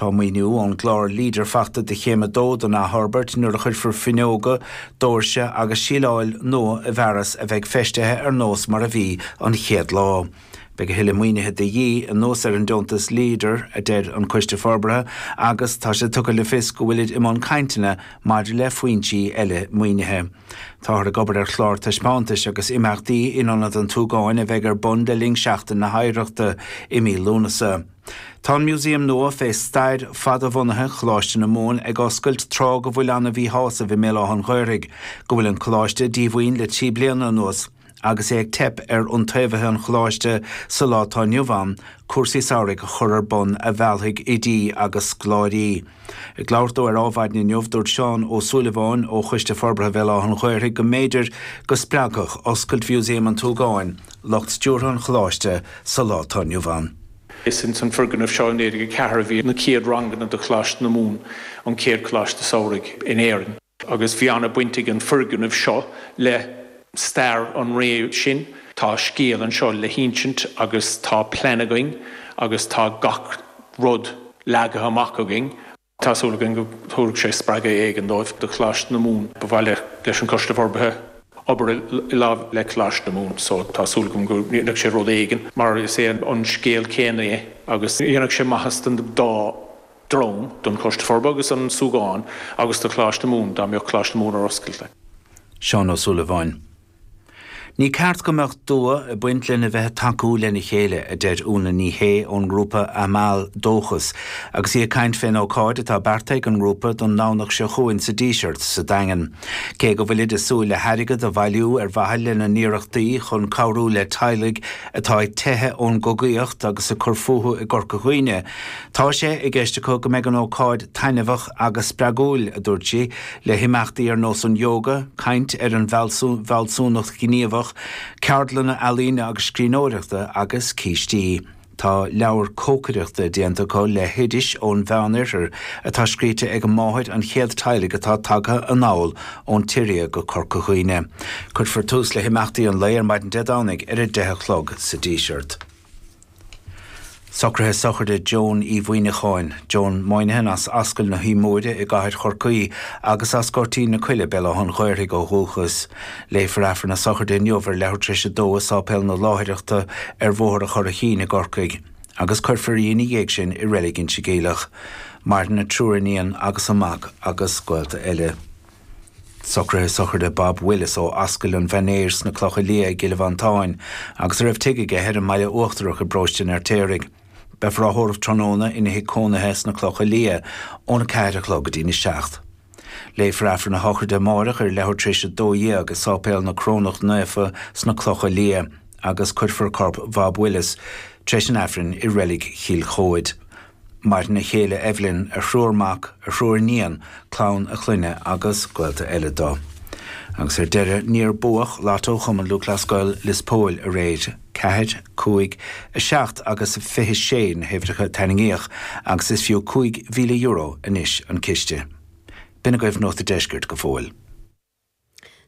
Tá maoiniú ón gclár Leader fachta do chéim 2 den athfhorbairt nuair a chuirfear fuinneoga, doirse agus síleáil nua i bhfearas a bheidh feistithe ar nós mar a bhí an chéad lá. Beidh a thuilleadh maoinithe de dhíth, anuas ar an deontas Leader, a deir an Coiste Forbartha, agus tá sé tugtha le fios go bhfuilid i mbun cainteanna maidir le foinsí eile maoinithe. Táthar ag obair ar chlár taispeántais agus imeachtaí in Ionad an tSúgáin a bheidh ar bun le linn Seachtain na hOidhreachta i mí Lúnasa. Tá an Músaem nua fé stair fada-bhunaithe Choláiste na Mumhan ag oscailt tráth go bhfuil ana-mhíshásamh i mBéal Átha an Ghaorthaidh go bhfuil an Coláiste díomhaoin le 3 bliana anuas agus é ag teip ar iontaobhaithe an Choláiste sa lá atá inniu ann cúrsaí samhraidh a chur ar bun a mheallfaidh oidí agus scoláirí. Ag labhairt dó ar Ádhmhaidin inniu dúirt Seán Ó Súilleabháin ó Choiste Forbartha Bhéal Átha an Ghaorthaidh go mb'fhéidir go spreagfadh oscailt Mhúsaem an tSúgáin lucht stiúrtha an Choláiste sa lá atá inniu ann. Is ins an foirgneamh seo i 1904 a bhí na chéad ranganna do Choláiste na Mumhan, an chéad choláiste samhraidh in Éirinn. Agus bhí ana-baint ag an foirgneamh seo le stair an ré sin. Tá scéal anseo le hinsint agus tá plean againn agus tá gach rud leagtha amach againn. Tá súil againn go dtabharfaidh sé spreagadh éigin dóibh, do Choláiste na Mumhan. Ba mhaith leis an Choiste Forbartha obair i lámh le Coláiste na Mumhan so tá súil agam go ndéanfaidh sé rud éigin mar is é an scéal céanna é agus dhéanfadh sé maitheas don dá dhream, don Choiste Forbartha agus an Súgán agus do Choláiste na Mumhan dá mbeadh Coláiste na Mumhan ar oscailt. Seán Ó Súilleabháin. Ní ceart go mbeadh dua ag baint lena bheith ag tacú lena chéile, a deir Úna Ní Shé ón ngrúpa Amal Dóchas, agus í ag caint fén ócáid atá beartaithe ag an ngrúpa don nDomhnach seo chugainn sa Díseart sa Daingean. Cé go bhfuilid ag súil le hairgead a bhailiú ar mhaithe lena n-iarrachtaí chun cabhrú le teaghlaigh atá ag teitheadh ón gcogaíocht agus ag cur fúthu i gCorca Dhuibhne, tá sé i gceist acu go mbeidh an ócáid taitneamhach agus spreagúil, a dúirt sí. le himeachtaí ar nós an ióga, caint ar an bhfealsúnacht ghníomhach, ceardlanna ealaíne agus scríbhneoireachta agus cístí. Tá leabhar cócaireachta déanta acu le hoidis ón Mheán-Oirthear atá scríte ag máthair an chéad teaghlaigh atá tagtha anall ón tSiria go Corca Dhuibhne. Cuirfear tús le himeachtaí an lae ar maidin Dé Domhnaigh ar 10 a chlog sa Díseart. Socruithe sochraide Joan Uí Mhuimhneacháin, Joan Moynihan as Ascaill na hUí Móire i gCathair Chorcaí agus as Goirtín na Coille, Béal Átha an Ghaorthaidh ó dhúchas. Léifear Aifreann na sochraide inniu ar leathuair tar éis a dó i Sáipéal na Láithreachta ar Bhóthar an Churraichín i gCorcaigh agus cuirfear í ina dhiaidh sin i Reilig Inse Geimhleach. Maireann a triúr iníon agus a mac agus gaolta eile. Socruithe sochraide Bob Willis ó Ascaill an Mhainéir sna Clocha Liath i gCill Mhantáin agus a raibh tigh aige ar an mBaile Uachtarach i bparóiste an Fheirtéaraigh. Beifear á thórramh tráthnóna ina thigh cónaithe sna Clocha Liath óna 4 a chlog go dtína 7. Léifear Aifreann a shochraide amáireach ar leathuair tar éis 12 i Sáipéal na Corónach Naofa sna Clocha Liath agus cuirfear corp Bhob Willis tar éis an Aifrinn i Reilig Chill Chomhaid. Maireann a chéile Evelyn, a thriúr mac, a thriúr iníon, clann a chlainne agus gaolta eile dó. Agus ar deireadh, níor buadh Lotto Chumann Lúthchleas Gael Lios Póil aréir. 4, 5, 7 agus 26 na huimhreacha a tarraingíodh agus is fiú €5,000 anois an ciste. B'in agaibh Nuacht an Deiscirt go fóill.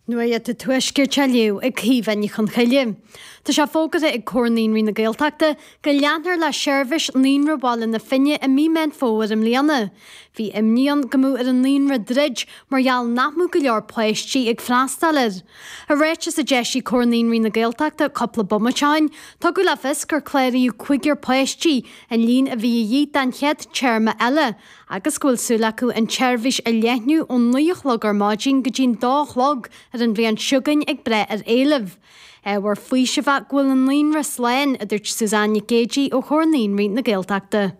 Nuacht an Tuaiscirt á léamh ag Caoimhe Ní Chonchoille. Tá sé fógartha ag Comhar Naíonraí na Gaeltachta go leanfar le seirbhís Naíonra Bhaile na Finne i mí Meán Fómhair i mbliana. Bhí imní ann go mbeadh ar an naíonra druid mar gheall nach mbeadh go leor páistí ag freastal air. I ráiteas a d'eisigh Comhar Naíonraí na Gaeltachta cúpla bomaite ó shin, tugadh le fios gur cláraíodh cúigear páistí, an líon a bhí a dhíth don chéad téarma eile, agus go bhfuil súil acu an tseirbhís a leathnú ón 9 a chlog ar maidin go dtí'n 2 a chlog ar an bhliain seo chugainn ag brath ar éileamh. Ábhar faoisimh é go bhfuil an naíonra slán, a dúirt Suzanne Nic Géidigh ó Chomhar Naíonraí na Gaeltachta.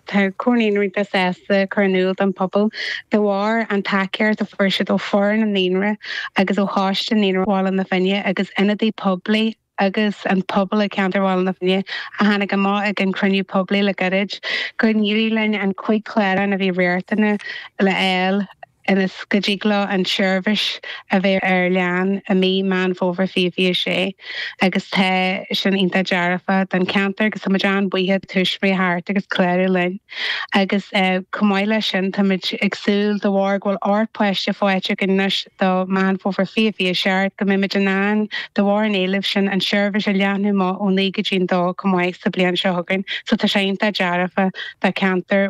Tá Comhar Naíonraí iontach sásta cur in iúl don phobal de bharr an tacaíocht a fuair siad ó foireann an naíonra agus ó choiste Naíonra Bhaile na Finne agus ionadaí poiblí agus an pobal i gceantar Bhaile na Finne a tháinig amach ag an chruinniú poiblí le gairid gur éirigh linn an 5 chlárán a bhí riachtanach le fháil ionas go dtig leo an tseirbhís a bheith ar lean i mí Meán Fómhair 2026 agus tá sin iontach dearfach don cheantar agus tá muid an-bhuíoch tuismitheoirí theacht agus clárú linn. Agus chomh maith leis sin táimid ag súil de bharr go bhfuil 8 páiste faighte againn anois do Meán Fómhair 2027 go mbeimid in ann, de bharr an éilimh sin, an seirbhís a leathnú amach ó 9 go dtí an 2 chomh maith sa bliain seo chugainn. So tá sé iontach dearfa do cheantar.